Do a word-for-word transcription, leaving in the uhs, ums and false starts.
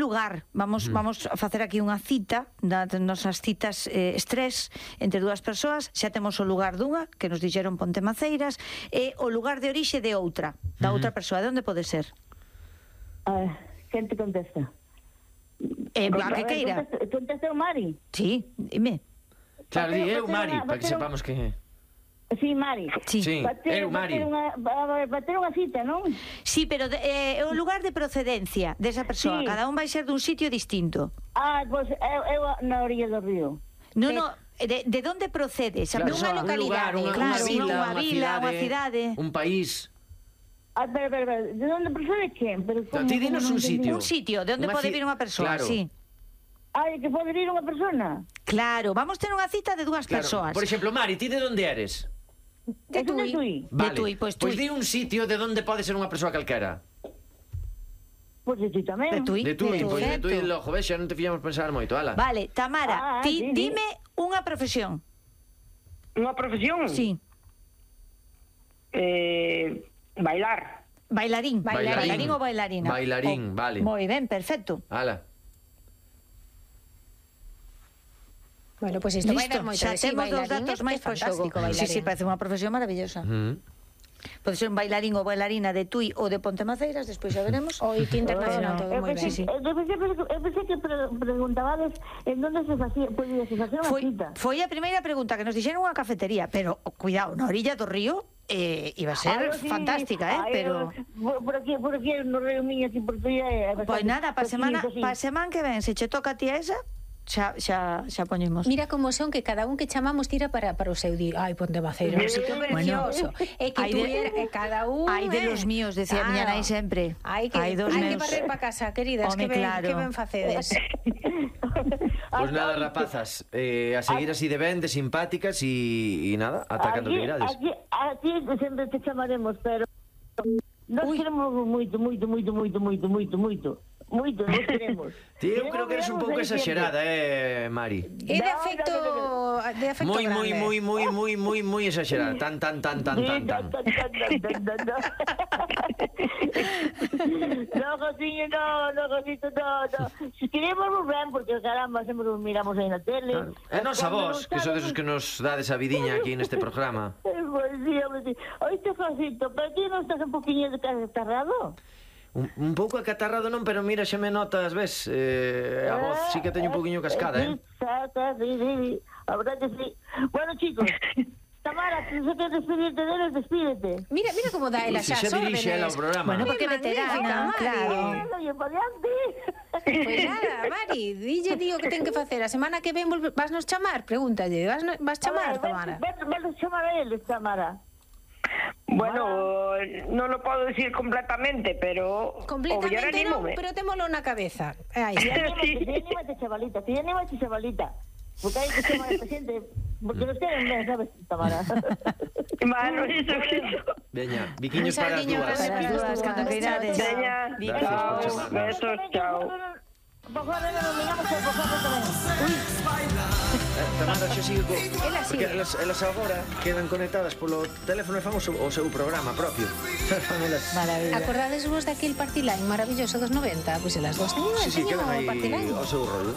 lugar. Vamos mm. vamos a facer aquí unha cita, das nosas citas eh, estrés entre dúas persoas. Xa temos o lugar dunha, que nos dixeron Pontemaceiras, e o lugar de orixe de outra, da mm. outra persoa. De onde pode ser? Uh, quen te contesta? Eh, a que queira. Contesta o Mari? Sí, dime. Claro, di eu, Mari, para que sepamos que... Sí, Mari. Sí, sí. Bater, eu, Mari. Bater unha cita, non? Sí, pero de, eh, o lugar de procedencia desa persoa, sí. Cada un vai ser dun sitio distinto. Ah, pois pues, eu, eu na orilla do río. No, no, de, de onde procede esa claro, persoa? Unha localidade, un lugar, claro, unha vila, unha vila, unha cidade, un país. Ah, pero, pero, pero, de onde procede quen? Pero, como, ti dinos un sitio. Un sitio, de onde pode vir unha persoa, claro. sí. Ai, que pode vir unha persona? Claro, vamos ter unha cita de dúas claro. persoas. Por exemplo, Mari, ti de onde eres? De Tui. Vale. De Tui, pois Pois di un sitio de onde pode ser unha persoa calquera. Pois de Tui tamén. De Tui, de Tui, pois de Tui, lojo, ves, xa non te fillamos pensar moito, ala. Vale, Tamara, ah, ti sí, dime sí. unha profesión. Unha profesión? Sí. Eh, bailar. Bailarín. Bailarín. Bailarín ou bailarina. Bailarín, oh, vale. Moi ben, perfecto. Ala. Bueno, pois pues isto vai dar moito xa de sí, temos dos datos máis pro xogo. Sí, sí, parece unha profesión maravillosa. Mm. Pode ser un bailarín ou bailarina de Tui ou de Pontemaceiras, despois xa veremos. O I T internacional, todo moi ben. Eu pensei que preguntabades en onde se facía, podía se facer unha cita. Foi a primeira pregunta que nos dixeron unha cafetería, pero, cuidado, na orilla do río eh, iba a ser ah, sí, fantástica, eh, ay, pero... Por aquí, por aquí, no río Miño, aquí por Tui... Pois nada, pa semana, pa semana que ven, se che toca a ti a esa... Xa, xa, xa poñemos. Mira como son que cada un que chamamos tira para, para o seu día. Ai, Pontemaceiras, un sitio precioso. É que tú de, cada un... Hai de eh? los míos, decía claro. Miña nai sempre. Hai que, hai dos hai meus... que barrer para casa, queridas. Home, que ben, claro. Que ben facedes. Pois pues nada, rapazas, eh, a seguir así de ben, de simpáticas e nada, ata cando que irades. Aquí, aquí sempre te chamaremos, pero nos queremos moito, moito, moito, moito, moito, moito, moito. Moito, non queremos. Ti, eu creo que eres un pouco exagerada, eh, Mari. É de afecto, de afecto moi, grande. moi, moi, moi, moi, moi, moi exagerada. Tan, tan, tan, tan, tan, tan. No, cociño, no, no, cosito, no, no. Si queremos ben, porque caramba, sempre nos miramos aí na tele. Claro. E nos a vos, que sodes os que nos dades a vidiña aquí neste programa. Pois sí, hombre, sí. Oíste, cosito, pero ti non estás un poquinho de catarrado? Un, un pouco acatarrado non, pero mira, xa me notas, ves, eh, a voz sí que teño un poquinho cascada, eh? Sí, sí, sí, a verdad que sí. Bueno, chicos, Tamara, si se quieres despedirte de él, despídete. Mira, mira como dá ela xa as órdenes. Se xa dirixe ela o programa. Bueno, porque veterana, claro. Oye, paliante. Pois nada, Mari, dille tío que ten que facer. A semana que ven vas nos chamar, pregúntalle, vas, vas chamar, Tamara? Vas nos chamar a él, Tamara. Bueno, non lo podo decir completamente, pero completamente non, pero témolo na cabeza. Aí está. Sí, anímate, chavalita, ti anímate, chavalita. Porque hai que chamar a esta xente, porque nos queren ben, sabes, Tamara. Mano, iso, iso. Veña, biquiños para as dúas. Para as dúas, cando que irades. Veña, chao, besos, chao. Por favor, non miramos por favor tamén. Tamara xa sigue co... Ela sigue. Porque elas, elas agora quedan conectadas polo teléfono e fan o seu, o seu programa propio. Maravilla. Acordades vos daquele Party Line maravilloso dos noventa? Pois pues elas dos teñen, sí, sí, teñen quedan o aí Party Line. o seu rollo.